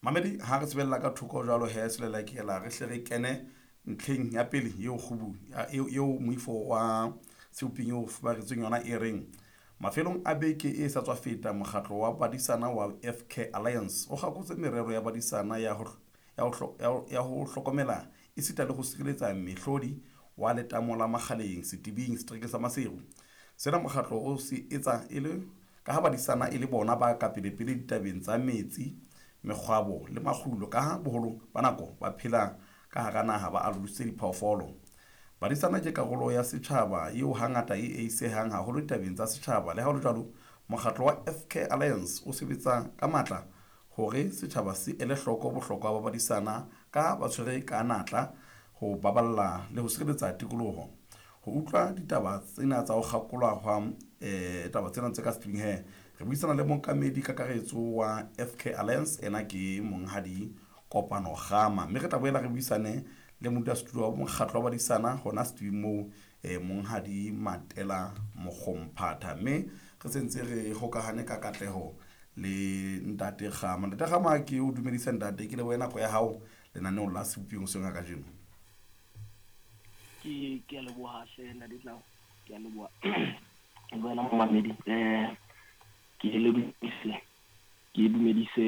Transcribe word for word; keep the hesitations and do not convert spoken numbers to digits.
Mamedi, ha re tsebella ka thoko jwalo he, selelekela re hle re kene ntlheng ya pele eo kgubu eo moifo wa Seboping eo fuparetsweng yona e reng mafelong a beke e sa tswa feta, mokgatlo wa badisana wa F Care Alliance o kgakotse merero ya badisana ya ho ya ho hlokomela esita le ho sireletsa mehlodi wa letamo la Makgaleng Setibing seterekeng sa Maseru. Sena mokgatlo o se etsa e le ka ha badisana e le bona ba ka pelepele ditabeng tsa metsi, mekgwabo le makgulo, ka ha boholo ba nako ba phela ka hara naha ba alositse diphoofolo. Badisana ke karolo ya setjhaba eo hangata e eisehang haholo ditabeng tsa setjhaba. Le ha ho le jwalo, mokgatlo wa F Care Alliance o sebetsa ka matla hore setjhaba se ele hloko bohlokwa ba badisana ka ba tshwere ka natla ho baballa le ho sireletsa tikoloho. Ho utlwa ditaba tsena tsa ho kgakolwa hwa eh taba tsena tse ka setibing he, re buisana le mookamedi kakaretso wa F Care Alliance, ena ke monghadi Kopano Kgama, mme re tla boela re buisane le modulasetulo wa mokgatlo wa badisana hona setibing moo, eh monghadi Matela Mokgomphatha. Mme re sentse re hokahane ka katleho le ntate Kgama. Ntate Kgama, ke o dumedisa ntate, ke lebohe nako ya hao lenaneong la Seboping hoseng ha kajeno. Ke ke a leboha hle ntate Tlau, ke a leboha le wena momamedi. Eh ke le dumedise, ke dumedise